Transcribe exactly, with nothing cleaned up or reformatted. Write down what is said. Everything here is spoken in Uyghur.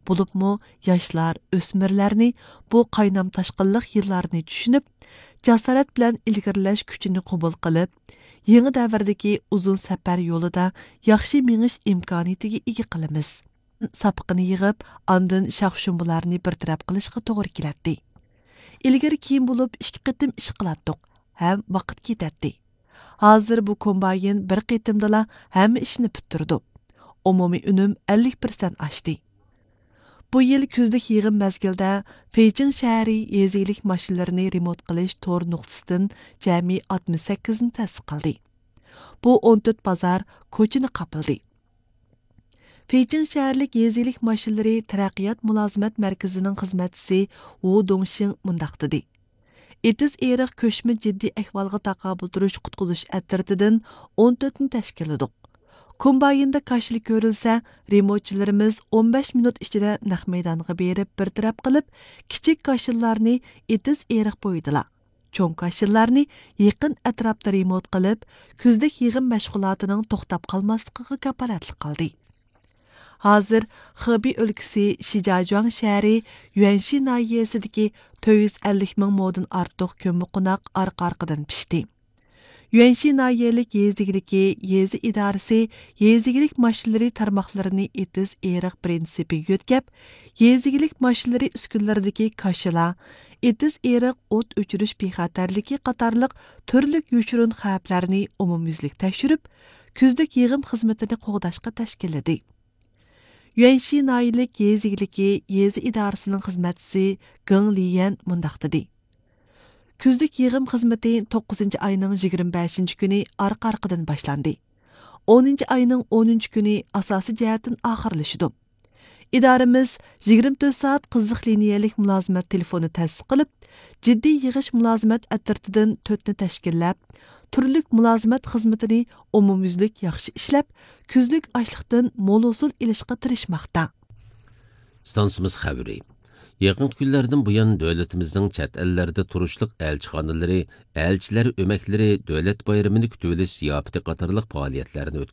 بولۇپمۇ ياشلار، ئۆسمۈرلەرنى بۇ قاينام تاشقىنلىق يىللارنى چۈشىنىپ، جاسارەت بىلەن ئىلگىرىلەش كۈچىنى قوبۇل قىلىپ، يېڭى دەۋردىكى ئۇزۇن سەپەر يولىدا ياخشى مېڭىش ئىمكانىيىتىگە ئىگە قىلىمىز. ساپىقىنى يىغىپ، ئاندىن شاخشۇمبىلارنى بىر تەرەپ قىلىشقا توغرا كېلەتتى. ئىلگىرى كېيىن بولۇپ ئىككى قېتىم ئىش قىلاتتۇق ھەم ۋاقىت كېتەتتى. ھازىر بۇ كومباين بىر قېتىمدىلا ھەممە ئىشنى پۈتتۈرىدۇ. ئومۇمىي ئۈنۈم ئەللىك پىرسەنت ئاشتى. بۇ يىل كۈزلۈك يىغىم مەزگىلىدە فېيچىڭ شەھىرى يېزا ئىگىلىك ماشىنىلىرىنى رېمونت قىلىش تور نۇقتىسىدىن جەمئىي ئاتمىش سەككىزنى تەسىس قىلدى. بۇ ئون تۆت بازار، كوچىنى قاپلىدى. فېيچىڭ شەھەرلىك يېزا ئىگىلىك ماشىنىلىرى تەرەققىيات مۇلازىمەت مەركىزىنىڭ خىزمەتچىسى ۋۇ دۇڭشىڭ مۇنداق دېدى: ئېتىز ئېرىق كۆچمە جىددىي ئەھۋالغا تاقابىل تۇرۇش قۇتقۇزۇش ئەترىتىدىن ئون تۆتنى تەشكىللىدۇق. كومبايندا كاشىلا كۆرۈلسە، رېمونتچىلىرىمىز ئون بەش مىنۇت ئىچىدە نەق مەيدانغا بېرىپ بىر تەرەپ قىلىپ، كىچىك كاشىلىلارنى ئېتىز ئېرىق بويىدىلا، چوڭ كاشىلىلارنى يېقىن ئەتراپتا رېمونت قىلىپ، كۈزلۈك يىغىم مەشغۇلاتىنىڭ توختاپ قالماسلىقىغا كاپالەتلىك قىلدى. ھازىر خېبېي ئۆلكىسى شىجاجۇاڭ شەھىرى يۈەنشى ناھىيەسىدىكى تۆت يۈز ئەللىك مىڭ مودىن ئارتۇق كۆممىقوناق ئارقا-ئارقىدىن پىشتى. يۈەنشى ناھىيەلىك يېزا ئىگىلىكى يېزا ئىدارىسى يېزا ئىگىلىك ماشىنىلىرى تارماقلىرىنى ئېتىز ئېرىق پىرىنسىپىگە يۆتكەپ، يېزا ئىگىلىك ماشىنىلىرى ئۈسكۈنىلىرىدىكى كاشىلا، ئېتىز ئېرىق ئوت ئۆچۈرۈش بىخەتەرلىكى قاتارلىق تۈرلۈك يوشۇرۇن خەۋپلەرنى ئومۇميۈزلۈك تەكشۈرۈپ، كۈزلۈك يىغىم خىزمىتىنى قوغداشقا تەشكىللىدى. يۈەنشى ناھىيەلىك يېزا ئىگىلىكى يېزا ئىدارىسىنىڭ خىزمەتچىسى گېڭ لىيەن مۇنداق دېدى: كۈزلۈك يىغىم خىزمىتى توققۇزىنچى ئاينىڭ يىگىرمە بەشىنچى كۈنى ئارقا-ئارقىدىن باشلاندى. ئونىنچى ئاينىڭ ئونىنچى كۈنى ئاساسىي جەھەتتىن ئاخىرلىشىدۇ. ئىدارىمىز يىگىرمە تۆت سائەت قىزىق لىنىيەلىك مۇلازىمەت تېلېفونى تەسىس قىلىپ، جىددىي يىغىش مۇلازىمەت ئەترىتىدىن تۆتنى تەشكىللەپ، تۈرلۈك مۇلازىمەت خىزمىتىنى ئومۇميۈزلۈك ياخشى ئىشلەپ، كۈزلۈك ئاشلىقتىن مول ھوسۇل ئېلىشقا تىرىشماقتا. ئىستانسىمىز خەۋىرى. يېقىنقى كۈنلەردىن بۇيان، دۆلىتىمىزنىڭ چەت ئەللەردە تۇرۇشلۇق ئەلچىخانىلىرى ئەلچىلەر ئۆمەكلىرى دۆلەت بايرىمىنى كۈتۈۋېلىش زىياپىتى قاتارلىق پائالىيەتلەرنى ئۆتكۈزدى.